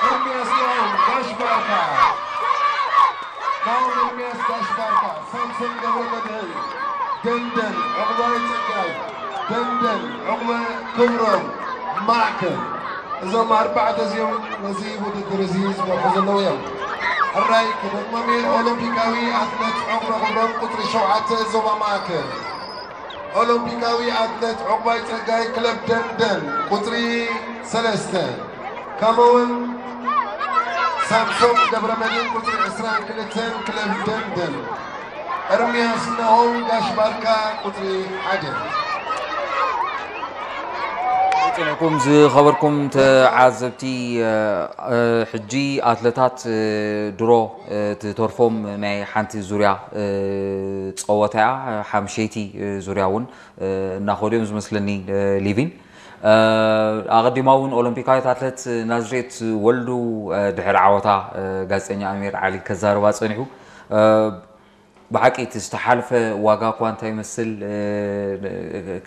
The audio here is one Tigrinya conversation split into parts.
ኤርሚያስ ናሆም ጋሽ ባርካ፣ ናሆም ኤርሚያስ ጋሽ ባርካ፣ ሳምሶን ገብረ መድህን ደንደን፣ ዕቑባይ ጸጋይ ደንደን፣ ዕቑበ ክብሮም ማእከል። እዞም ኣርባዕተ እዚኦም ነዚ ውድድር እዚ ዝመርሑ ዘለዉ እዮም። ሕራይ ክደግሞም እየ። ኦሎምፒካዊ ኣትሌት ዕቑበ ክብሮም ቁጽሪ ሸውዓተ ዞባ ማእከል። ኦሎምፒካዊ ኣትሌት ዕቑባይ ጸጋይ ክለብ ደንደን ቁጽሪ ሰለስተ፣ ከምኡውን ሳምሶም ገብረመድህን ቁጽሪ ዕስራን ክልተን ክለብ ደንደን፣ ኤርምያስ ናሆም ጋሽ ባርካ ቁጽሪ ሓደ። ጽንዕኩም ዝኸበርኩም ተዓዘብቲ፣ እ፣ እ፣ ሕጂ ኣትለታት፣ እ፣ ድሮ፣ እ፣ ትተርፎም ናይ ሓንቲ ዙርያ፣ እ፣ ጸወታ እያ። ሓምሸይቲ፣ እ፣ ዙርያ እውን፣ እ፣ እናኸዱ እዮም ዝመስለኒ፣ እ፣ ሊቪን። እ፣ ኣቐዲማ እውን ኦሎምፒካዊት ኣትለት ናዝሬት ወልዱ፣ እ፣ ድሕሪ ዓወታ፣ እ፣ ጋዜጠኛ ኣሚር ዓሊ ከዛርባ ጸኒሑ። እ፣ ብሓቂ እቲ ዝተሓልፈ ዋጋ እኳ እንታይ ይመስል፣ እ፣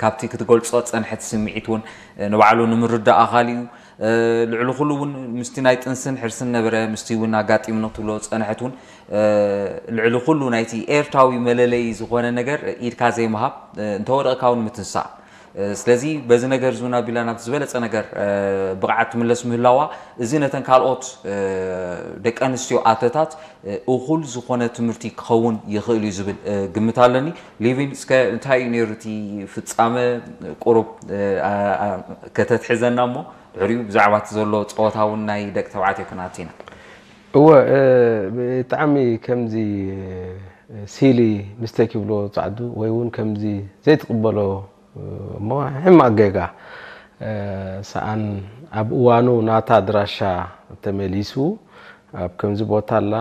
ካብቲ ክትገልጾ ጸንሐት ስምዒት እውን፣ እ፣ ንባዕሉ ንምርዳእ ኣኻሊ እዩ። እ፣ ልዕሊ ኩሉ እውን ምስቲ ናይ ጥንስን ሕርስን ነበረ፣ ምስቲ እውን ኣጋጢሙኒ ክትብሎ ጸንሐት እውን፣ እ፣ ልዕሊ ኩሉ ናይቲ ኤርትራዊ መለለዪ ዝኾነ ነገር ኢድካ ዘይምሃብ፣ እ፣ እንተወደቕካ እውን ምትንሳእ። እ፣ ስለዚ በዚ ነገር እዚ እውን ኣቢላ ናብቲ ዝበለጸ ነገር፣ እ፣ ብቕዓት ትምለስ ምህላዋ፣ እዚ ነተን ካልኦት፣ እ፣ ደቂ ኣንስትዮ ኣትለታት፣ እ፣ እኹል ዝኾነ ትምህርቲ ክኸውን ይኽእል እዩ ዝብል፣ እ፣ ግምት ኣለኒ። ሊቪን፣ እስከ እንታይ እዩ ነይሩ እቲ ፍጻመ? ቁሩብ፣ እ፣ ኣ-፣ ኣ-፣ ከተትሕዘና እሞ ድሕሪኡ ብዛዕባ እቲ ዘሎ ጸወታ እውን ናይ ደቂ ተባዕትዮ ክንኣቱ ኢና። እወ፣ እ፣ ብጣዕሚ ከምዚ፣ እ፣ ሲሊ ሚስቴክ ይብሎ ጻዕዱ ወይ እውን ከምዚ ዘይትቕበሎ፣ እ፣ እሞ ሕማቕ ጌጋ፣ እ፣ ሰኣን ኣብ እዋኑ ናታ ኣድራሻ ተመሊሱ ኣብ ከምዚ ቦታ ኣላ፣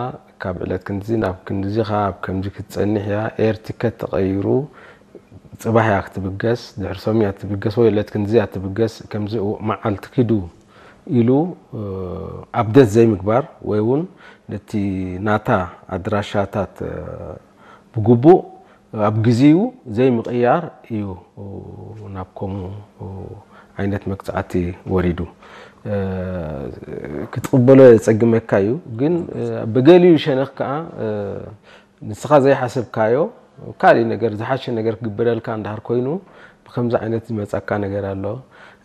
ካብ ዕለት ክንድዚ ናብ ክንድዚ ኢኻ ኣብ ከምዚ ክትጸንሕ እያ፣ ኤር ቲከት ተቐይሩ፣ ጽባሕ እያ ክትብገስ፣ ድሕሪ ሶም እያ ትብገስ ወይ ዕለት ክንድዚ እያ ትብገስ፣ ከምዚ እው-፣ መዓልቲ ኪዱ ኢሉ፣ እ፣ ኣፕደት ዘይምግባር ወይ እውን ነቲ ናታ ኣድራሻታት፣ እ፣ ብግቡእ ኣብ ግዜኡ ዘይምቕያር እዩ ናብ ከምኡ ዓይነት መቅጻዕቲ ወሪዱ። እ፣ ክትቕበሎ የጸግመካ እዩ፣ ግን፣ እ፣ ብገሊኡ ሸነኽ ከኣ፣ እ፣ ንስኻ ዘይሓሰብካዮ ካልእ ነገር፣ ዝሓሸ ነገር ክግበረልካ እንድሕር ኮይኑ፣ ብከምዚ ዓይነት ዝመጻካ ነገር ኣሎ።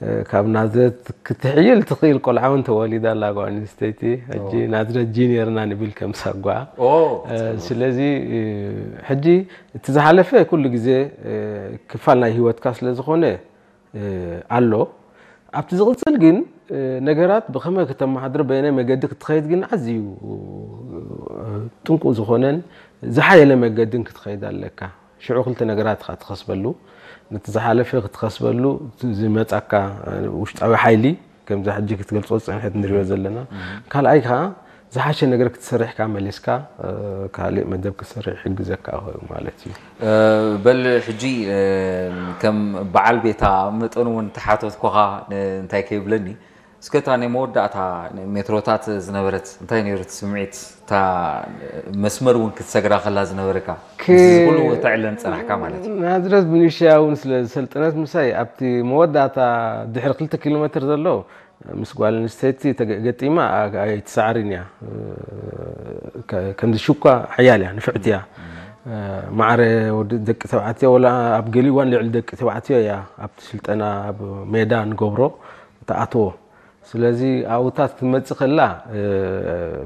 እ፣ ካብ ናዝረት ክትሕይል ትኽእል ቆልዓ እውን ተወሊዳ ኣላ ጓል ኣንስተይቲ። ሕጂ ኦ። ናዝረት ጂኒየርና ንብል ከም ሳጓ። ኦ፣ እ፣ ስለዚ፣ እ፣ ሕጂ እቲ ዝሓለፈ ኩሉ ግዜ፣ እ፣ ክፋል ናይ ህይወትካ ስለ ዝኾነ፣ እ፣ ኣሎ። ኣብቲ ዝቕጽል ግን፣ እ፣ ነገራት ብኸመይ ከተመሓድሮ፣ በየናይ መገዲ ክትኸይድ ግን ኣዝዩ፣ እ፣ ጥንቁቕ ዝኾነን ዝሓየለ መገድን ክትኸይድ ኣለካ። ሽዑ ክልተ ነገራት ኢኻ ትኸስበሉ። ነቲ ዝሓለፈ ክትኸስበሉ፣ እቲ ዝመጻካ፣ እ፣ ውሽጣዊ ሓይሊ፣ ከምዛ ሕጂ ክትገልጾ ዝጸንሐት ንሪኦ ዘለና። ካልኣይ ከኣ ዝሓሸ ነገር ክትሰርሕ ከኣ መሊስካ፣ እ፣ ካልእ መደብ ክትሰርሕ ይሕግዘካ ይኸውን ማለት እዩ። እ፣ በል ሕጂ፣ እ፣ ከም በዓል ቤታ መጠኑ እውን ተሓተትኩኻ፣ እ፣ እንታይ ከይብለኒ፣ እስከ እታ ናይ መወዳእታ ሜትሮታት ዝነበረት እንታይ ነይሩ እቲ ስምዒት? እታ መስመር እውን ክትሰግራ ከላ ዝነበረካ፣ ክ-፣ ምስዚ ኩሉ ተዕለን ጸናሕካ ማለት እዩ። ናዝረት ብንእሽተያ እውን ስለ ዝሰልጠነት ምሳይ፣ ኣብቲ መወዳእታ ድሕሪ ክልተ ኪሎ ሜትር ዘሎ ምስ ጓል ኣንስተይቲ ተገ-፣ ገጢማ ኣ-፣ ኣይትሰዓርን እያ። ከ-፣ ከምዚ ሽኳ ሓያል እያ፣ ንፍዕቲ እያ። ማዕረ ወዲ ደቂ ተባዕትዮ፣ ወላ ኣብ ገሊኡ እዋን ልዕሊ ደቂ ተባዕትዮ እያ ኣብቲ ስልጠና ኣብ ሜዳ ንገብሮ ትኣትዎ። ስለዚ ኣብኡታት ክትመጽእ ከላ፣ እ፣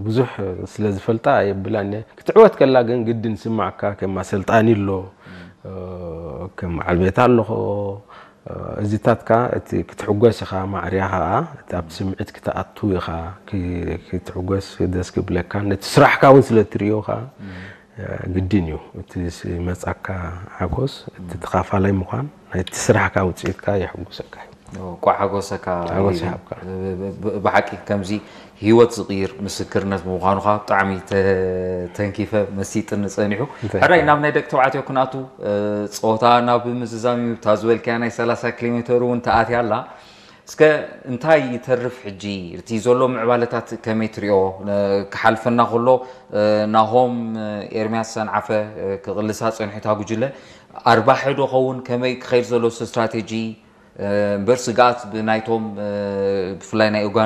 ብዙሕ ስለ ዝፈልጣ የብላን እየ። ክትዕወት ከላ ግን ግድን ዝስማዓካ ከም ኣሰልጣኒ ኣሎ፣ እ፣ ከም በዓል ቤት ኣለኹ። እ፣ እዚታት ከኣ እቲ ክትሕጎስ ኢኻ፣ ማዕርያ ከኣ እቲ ኣብቲ ስምዒት ክትኣቱ ኢኻ፣ ክ-፣ ክትሕጎስ ደስ ክብለካ። ነቲ ስራሕካ እውን ስለ እትርእዮ ከኣ፣ እ፣ ግድን እዩ። እቲ ዝመጻካ ሓጎስ፣ እቲ ተኻፋላይ ምዃን ናይቲ ስራሕካ ውጽኢትካ የሕጉሰካ እዩ። እኳ ሓጎሰካ ሓጎስ ሊቪን። ይሃብካ። ብ-፣ ብ-፣ ብሓቂ ከምዚ ህይወት ዝቕይር ምስክርነት ብምዃኑ ኸዓ ብጣዕሚ ተ-፣ ተንኪፈ መሲጥኒ ጸኒሑ። እንታይ ሕራይ ይበሃል? ናብ ናይ ደቂ ተባዕትዮ ክንኣቱ፣ እ፣ ጸወታ ናብ ምዝዛም እዩ። እታ ዝበልካያ ናይ ሰላሳ ኪሎ ሜተር እውን ተኣትያ ኣላ። እስከ እንታይ ይተርፍ ሕጂ? እቲ ዘሎ ምዕባለታት ከመይ ትሪኦ? ነ-፣ ክሓልፈና ከሎ፣ እ፣ ናሆም፣ እ፣ ኤርምያስ ሰንዓፈ፣ እ፣ ክቕልሳ ጸኒሑ እታ ጉጅለ ኣርባሒ ዶ ኸውን? ከመይ ክኸይድ ዘሎ ስትራቴጂ? እ፣ እምበር ስግኣት ብናይቶም፣ እ፣ ብፍላይ ናይ ኡጋንዳ